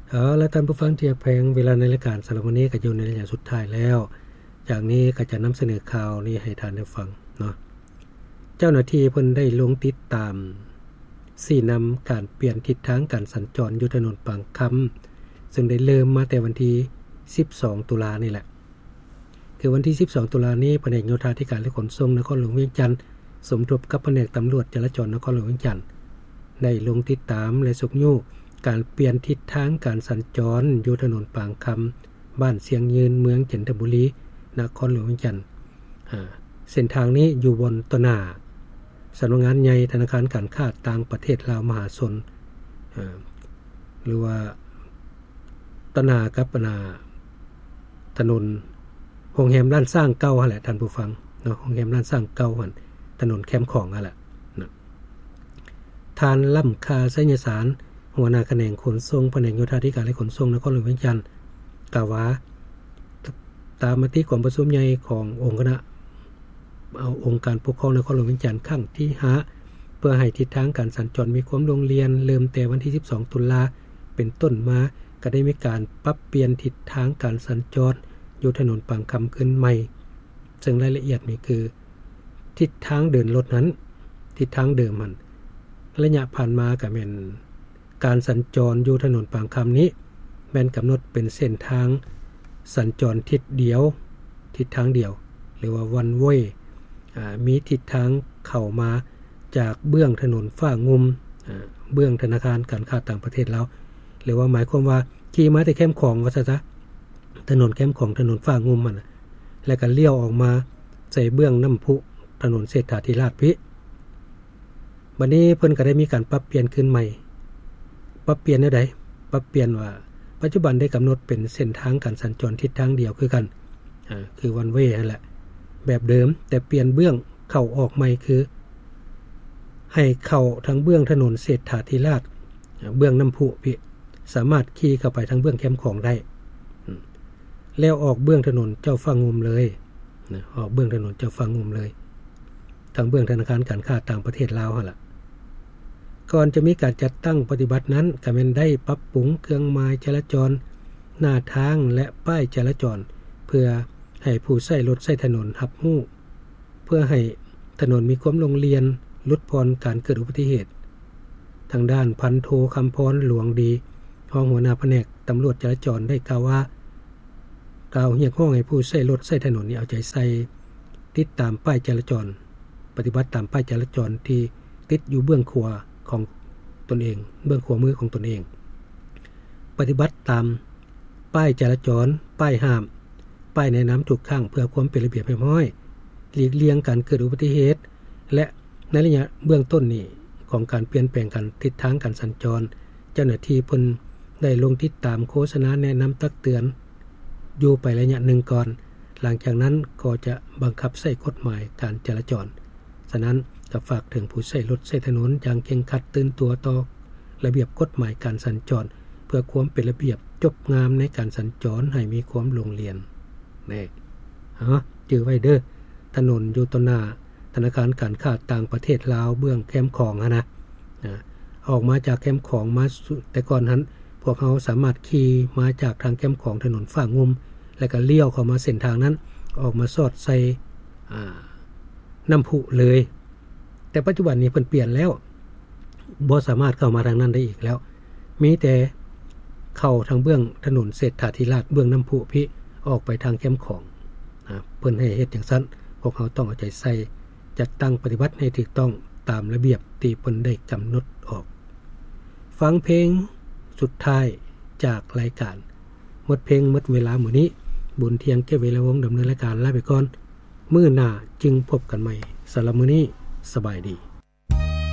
ເອົາລະ ທ່ານຜູ້ຟັງທີ່ຮັກແພງ, ເວລາໃນລາຍການສຳລັບມື້ນີ້ກໍຢູ່ໃນໄລຍະສຸດທ້າຍແລ້ວ. ຈາກນີ້ກໍຈະນຳສະເໜີຂ່າວນີ້ໃຫ້ທ່ານໄດ້ຟັງເນາະ. ເຈົ້າໜ້າທີ່ເພິ່ນໄດ້ລົງຕິດຕາມຊີ້ນຳການປ່ຽນທິດທາງການສັນຈອນຢູ່ຖະໜົນປາງຄຳ, ເຊິ່ງໄດ້ເລີ່ມມາແຕ່ວັນທີສິບສອງ ຕຸລານີ້ແຫຼະ. ຄືວັນທີສິບສອງ ຕຸລານີ້, ພະແນກໂຍທາທິການ ແລະ ຂົນສົ່ງນະຄອນຫຼວງວຽງຈັນ ສົມທົບກັບພະແນກຕຳຫຼວດຈະລາຈອນນະຄອນຫຼວງວຽງຈັນ ໄດ້ລົງຕິດຕາມ ແລະ ຊຸກຍູ້ການປ່ຽນທິດທາງການສັນຈອນຢູ່ຖະໜົນປາງຄຳ, ບ້ານຊຽງຍືນ, ເມືອງຈັນທະບູລີ, ນະຄອນຫຼວງວຽງຈັນ. ເສັ້ນທາງນີ້ຢູ່ບ່ອນຕໍ່ໜ້າສຳນັກງານໃຫຍ່ທະນາຄານການຄ້າຕ່າງປະເທດລາວມະຫາຊົນ ຫຼືວ່າ ຕໍ່ໜ້າກັບອັນນ່າ ຖະໜົນໂຮງແຮມລ້ານຊ້າງເກົ່າຫັ້ນແຫຼະ ທ່ານຜູ້ຟັງເນາະ, ໂຮງແຮມລ້ານຊ້າງເກົ່າຫັ້ນ, ຖະໜົນແຄມຂອງຫັ້ນແຫຼະເນາະ. ທ່ານ ລ້ຳຄ່າ ໄຊຍະສານ ຫົວໜ້າຂະແໜງຂົນສົ່ງ ພະແນກໂຍທາທິການ ແລະ ຂົນສົ່ງນະຄອນຫຼວງວຽງຈັນ ກ່າວວ່າ ຕາມມະຕິກອງປະຊຸມໃຫຍ່ຂອງອົງຄະນະ ເອົາ ອົງການປົກຄອງນະຄອນຫຼວງວຽງຈັນຄັ້ງທີຫ້າ ເພື່ອໃຫ້ທິດທາງການສັນຈອນມີຄວາມໂລ່ງລ່ຽນ, ເລີ່ມແຕ່ວັນທີສິບສອງ ຕຸລາເປັນຕົ້ນມາ ກໍໄດ້ມີການປັບປ່ຽນທິດທາງການສັນຈອນຢູ່ຖະໜົນປາງຄຳຄືນໃໝ່. ເຊິ່ງລາຍລະອຽດນີ້ຄື ທິດທາງເດີນລົດນັ້ນ, ທິດທາງເດີມຫັ້ນ, ໄລຍະຜ່ານມາກໍແມ່ນ ການສັນຈອນຢູ່ຖະໜົນປາງຄຳນີ້ ແມ່ນກຳນົດເປັນເສັ້ນທາງສັນຈອນທິດດຽວ, ທິດທາງດຽວ ຫຼືວ່າ one way ອາ ມີທິດທາງເຂົ້າມາຈາກເບື້ອງຖະໜົນຟ້າງຸ່ມ, ອາ ເບື້ອງທະນາຄານການຄ້າຕ່າງປະເທດລາວ ຫຼືວ່າໝາຍຄວາມວ່າຂີ່ມາແຕ່ແຄມຂອງ ວ່າຊັ້ນຊະ, ຖະໜົນແຄມຂອງ, ຖະໜົນຟ້າງຸ່ມຫັ້ນນະ, ແລ້ວກໍລ້ຽວອອກມາໃສ່ເບື້ອງນ້ຳພຸ, ຖະໜົນເສດຖາທິລາດພີ້. ບັດນີ້ເພິ່ນກໍໄດ້ມີການປັບປ່ຽນຄືນໃໝ່. ປັບປ່ຽນແນວໃດ? ປັບປ່ຽນວ່າ ປັດຈຸບັນໄດ້ກຳນົດເປັນເສັ້ນທາງການສັນຈອນທິດທາງດຽວຄືກັນ, ອາ ຄື one way ຫັ້ນແຫຼະ ແບບເດີມ, ແຕ່ປ່ຽນເບື້ອງເຂົ້າອອກໃໝ່ ຄືໃຫ້ເຂົ້າທາງເບື້ອງຖະໜົນເສດຖາທິລາດ, ອາ ເບື້ອງນ້ຳພຸພີ້, ສາມາດຂີ່ເຂົ້າໄປທາງເບື້ອງແຄມຂອງໄດ້, ອາ ແລ້ວອອກເບື້ອງຖະໜົນເຈົ້າຟ້າງຸ່ມເລີຍນະ, ອອກເບື້ອງຖະໜົນເຈົ້າຟ້າງຸ່ມເລີຍ. ທາງເບື້ອງທະນາຄານການຄ້າຕ່າງປະເທດລາວຫັ້ນລະ. ກ່ອນຈະມີການຈັດຕັ້ງປະຕິບັດນັ້ນ ກໍແມ່ນໄດ້ປັບປຸງເຄື່ອງໝາຍຈະລາຈອນໜ້າທາງ ແລະ ປ້າຍຈະລາຈອນ ເພື່ອໃຫ້ຜູ້ໃຊ້ລົດໃຊ້ຖະໜົນຮັບຮູ້, ເພື່ອໃຫ້ຖະໜົນມີຄວາມໂລ່ງລ່ຽນ, ຫຼຸດຜ່ອນການເກີດອຸບັດຕິເຫດ. ທາງດ້ານພັນໂທ ຄຳພອນ ຫຼວງດີ, ຮອງຫົວໜ້າພະແນກຕຳຫຼວດຈະລາຈອນ ໄດ້ກ່າວວ່າ, ກ່າວຮຽກຮ້ອງໃຫ້ຜູ້ໃຊ້ລົດໃຊ້ຖະໜົນນີ້ເອົາໃຈໃສ່ ຕິດຕາມປ້າຍຈະລາຈອນ, ປະຕິບັດຕາມປ້າຍຈະລາຈອນທີ່ຕິດຢູ່ເບື້ອງຂວາຂອງຕົນເອງ, ເບື້ອງຂວາມືຂອງຕົນເອງ, ປະຕິບັດຕາມປ້າຍຈະລາຈອນ, ປ້າຍຫ້າມ, ປ້າຍແນະນຳທຸກຄັ້ງ ເພື່ອຄວາມເປັນລະບຽບຮຽບຮ້ອຍ, ຫຼີກລ່ຽງການເກີດອຸບັດຕິເຫດ ແລະ ໃນໄລຍະເບື້ອງຕົ້ນນີ້ຂອງການປ່ຽນແປງການ ທິດທາງການສັນຈອນ, ເຈົ້າໜ້າທີ່ເພິ່ນໄດ້ລົງຕິດຕາມໂຄສະນາແນະນຳຕັກເຕືອນຢູ່ໄປໄລຍະໜຶ່ງກ່ອນ, ຫຼັງຈາກນັ້ນກໍຈະບັງຄັບໃຊ້ກົດໝາຍການຈະລາຈອນ. ສະນັ້ນ, ກໍຝາກເຖິງຜູ້ໃຊ້ລົດໃຊ້ຖະໜົນຢ່າງເຄັ່ງຄັດ, ຕື່ນຕົວຕໍ່ລະບຽບກົດໝາຍການສັນຈອນ ເພື່ອຄວາມເປັນລະບຽບຈົບງາມໃນການສັນຈອນໃຫ້ມີຄວາມໂລ່ງລ່ຽນ. ແນ່ ເອົາ ຈື່ໄວ້ເດີ້, ຖະໜົນຢູ່ຕໍ່ໜ້າ ທະນາຄານການຄ້າຕ່າງປະເທດລາວເບື້ອງແຄມຂອງຫັ້ນນະ, ອາ ອອກມາຈາກແຄມຂອງມາສູ່ ແຕ່ກ່ອນຫັ້ນ ພວກເຮົາສາມາດຂີ່ມາຈາກທາງແຄມຂອງຖະໜົນຟ້າງຸ່ມ ແລ້ວກໍລ້ຽວເຂົ້າມາເສັ້ນທາງນັ້ນ ອອກມາສອດໃສ່ ອາ ນ້ຳພຸເລີຍ. ແຕ່ປັດຈຸບັນນີ້ເພິ່ນປ່ຽນແລ້ວ, ບໍ່ສາມາດເຂົ້າມາທາງນັ້ນໄດ້ອີກແລ້ວ, ມີແຕ່ເຂົ້າທາງເບື້ອງຖະໜົນເສດຖາທິລາດ ເບື້ອງນ້ຳພຸພີ້ ອອກໄປທາງແຄມຂອງ. ອາ ເພິ່ນໃຫ້ເຮັດຈັ່ງຊັ້ນ, ພວກເຮົາຕ້ອງເອົາໃຈໃສ່ ຈັດຕັ້ງປະຕິບັດໃຫ້ຖືກຕ້ອງຕາມລະບຽບທີ່ເພິ່ນໄດ້ກຳນົດອອກ. ຟັງເພງສຸດທ້າຍຈາກລາຍການ. ໝົດເພງໝົດເວລາມື້ນີ້, ບຸນທຽງ ເກດ ວິລະວົງ ດຳເນີນລາຍການ ລາໄປກ່ອນ. ມື້ໜ້າຈຶ່ງພົບກັນໃໝ່. ສຳລັບມື້ນີ້, ສະບາຍດີ.